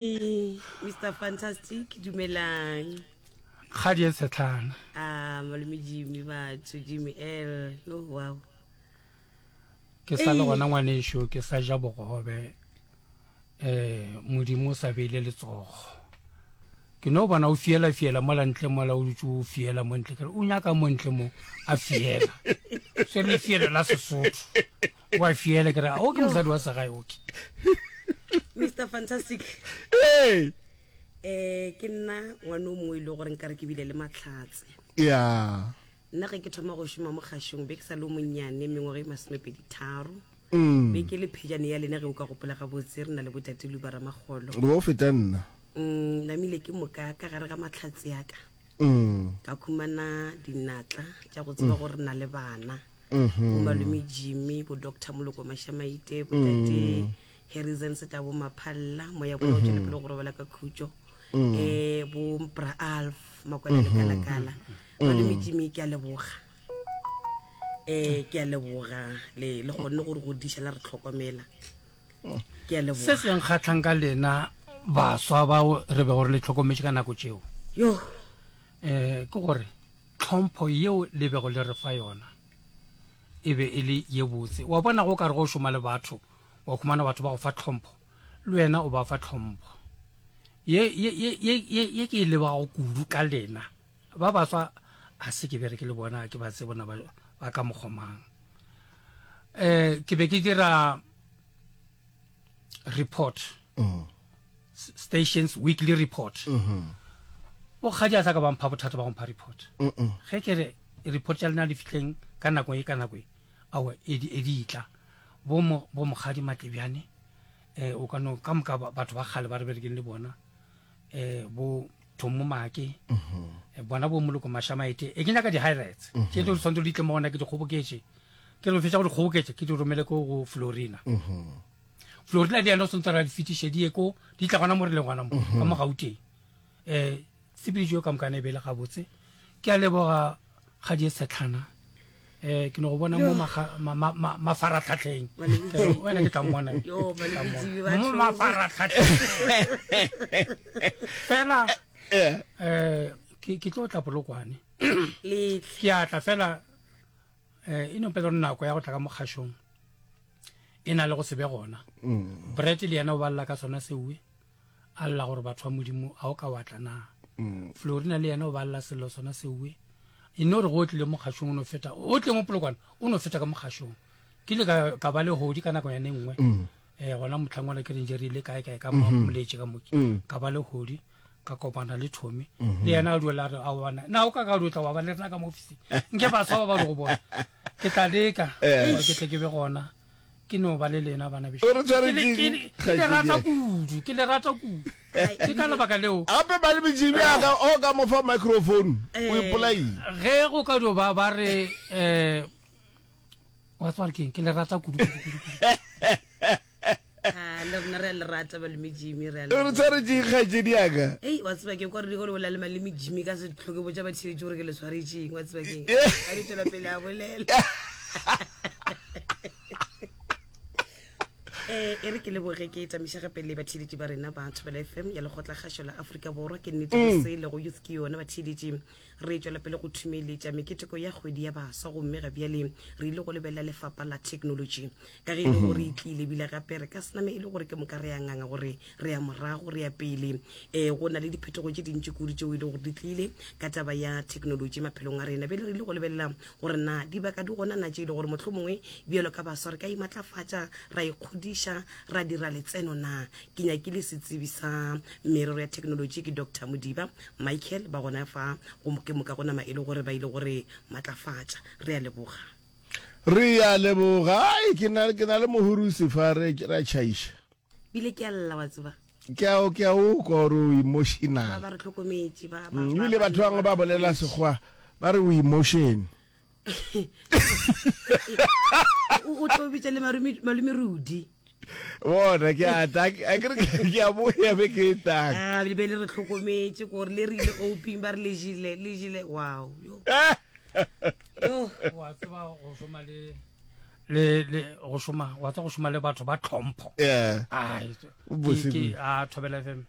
Mr Fantastic, dumelang. Kgadi e tshetlana. Ah, malome Jimmy batho, Jimmy L. Yo, wow. Ke sa le gona ngwanešu, ke sa ja bogobe. Eh, Modimo o sa beile letsogo. Ke no bona o fiela fiela mola ntle mola o dutše o fiela mo ntle. Ke re o nyaka mo ntle mo a fiela. Se le fiela la Sesotho. Wa fiela ke re o ke mosadi wa segae oke. Mr Fantastic. Hey. Eh ke nna ngwana o mongwe e le gore nkare ke bile le matlhatse. Yeah. Nna ge ke thoma go šoma mo kgašong be ke sa le o monnyane mengwaga e masomepedi tharo. Mm. Be ke le phejane ya lena ge o ka gopola gabotse re na le botate Luba Ramagolo. Re o feta nna. Mm, namile ke moka ka gare ga matlhatse ya ka. Mm. Ka khumana dinatla tša go tseba gore re na le bana. Mm-hmm. Bo malome Jimmy, bo Doctor Moloko Mashamaite, bo tate mm. Harrison Setabo Maphalla, moya bona o tšwele mm-hmm. pele go robala ka khutšo. Mm. Eh bo Bra Alf Makwela Mm-hmm. Lekalakala. Mm. Malome Jimmy ke a leboga. Eh ke a leboga le le kgonne gore go diša la re tlhokomela. Ke a leboga. Se se nkgatlhang ka lena baswa bao re bego re le tlhokometše ka nako tšeo. Yo. Eh ke gore Tlhompho yeo le bego le re fa yona e be e le ye botse. Wa bona, go ka re go šoma le batho, wa humana batho ba go fa tlhompho, le wena o ba fa tlhompho. Ye, ye, ye, ye, ye, ye ke e lebago kudu ka lena. Ba baswa a se ke bereke le bona, ke ba tsebona ba, ba ka mokgomang. Eh, ke be ke dira report. Mm. Stations weekly report. Mm -hmm. Bokgadi a sa ka ba mpha bothata ba go mpha report. Mm -mm. Ge ke re report tša lena di fihleng ka nako e ka nako e, aowa e di e di tla. Bo mo bo mokgadi Matlebjane eh o ka no ka moka batho ba kgale ba re berekeng le bona eh bo Thomo Make mm -hmm. eh, bona bo Moloko Mashamaete e ke nyaka di highlights mm -hmm. tše di tshwanetse di tle mo gona ke di kgoboketše ke re fetša go di kgoboketša ke di romele ko go Florina mm -hmm. Florina le yena o swantse ra di fetiše di ye ko di tla gona mo re leng gona mo ka mo Gauteng. Um tshepedišo eo ka mokana e be e le gabotse. Ke a leboga kgadi e setlhana. Um ke no go bona mo mafaratlhatlheng. Wena ke tla mmona. Mo mafaratlhatlheng. Fela um ke tlo tla Polokwane. Ke a tla fela um e no pele gore nako ya go tla ka mo kgašong e na le go se be gona mm. brett le yena o balela ka sona seue a lla gore batho ba modimo a o ka watla na mm. florina le yena o balela sello sona seue e no re go o tlile mo kgašong o no feta o tle mo polokwane o no feta ka mo kgašong ke ile ka ba le hodi ka nako yane nngwe mm. um gona motlhangwana ke reng je re ile kae kae ka mm-hmm. moletše ka moke ka ba le hodi ka kopana le Tommy mm-hmm. le yena a duela re a bona na o ka ka dutla wa ba le rena ka mo ofising nke baswa ba ba go bona ke tla leka eh. gore ke tle ke be gona ke no ba le lena bana bešo O re ke tshware le- ke- ke le- ke le rata kudu ke le rata kudu ke ka lebaka leo gape ba le metšhini yaka o ka mo fa microphone o Eh. ipolaile ge go ka dio ba ba re um wa tseba gore ke eng ke le rata kudu kudu kudu kudu Ah, le rena re a le rata malome Jimmy re a re leboga. tshwaretšeng kgaetšedi yaka Ei, wa tseba ke kwa re le bolela le malome Jimmy ka se tlhoke botša batheetši gore ke le swaretšeng wa tseba keng a di tswela pele a bolela Eh, e re ke leboge ke tamiša gape le batheeletši ba rena ba Thobela FM ya lekgotlakgašo la Afrika Borwa ke nnete go se le go youth ke yona batheeletši Re tšwela pele go thumeletša meketeko ya kgwedi ya baswa gomme ga bjale re ile go lebelela lefapa la technology ka ge e le gore e tlile ebile gape re ka se name e le gore ke moka re ya nganga gore re ya morago re ya pele. Um go na le diphetogo tše dintši kudu tšeo e le gore di tlile ka taba ya technology maphelong a rena. Bjale re ile go lebelela gore na dibaka di gona na tše e le gore mohlomongwe bjalo ka baswa re ka imatlafatša ra ikgodiša ra dira letseno na. Ke nyakile setsebi sa merero ya technology ke Doctor Modiba Michael ba gona fa go ke moka go nama e le gore ba ile gore matlafatša. Re a leboga. Re a leboga. Ai, ke na, ke na le mohurusi fa re, re a tšhaiša. Bile ke a lla wa tseba. Ke a, ke a o kwa gore o emotional. Ba ba re hlokometše ba, ba, Mm, ba, ebile ba batho bangwe ba bolela sekgowa ba re o emotion. O tlo bitša le malome Rudi. Bona ke a tla, a ke re ke a boya be ke tang. Ah, le be le re hlokometše gore le re ile oping ba re le jile, le jile. Wow. Yo. Yo. Wa tseba go šoma le. Le le go šoma wa tsa go šoma le batho ba tlhompho. Yeah. Ai Bose ke a Thobela FM.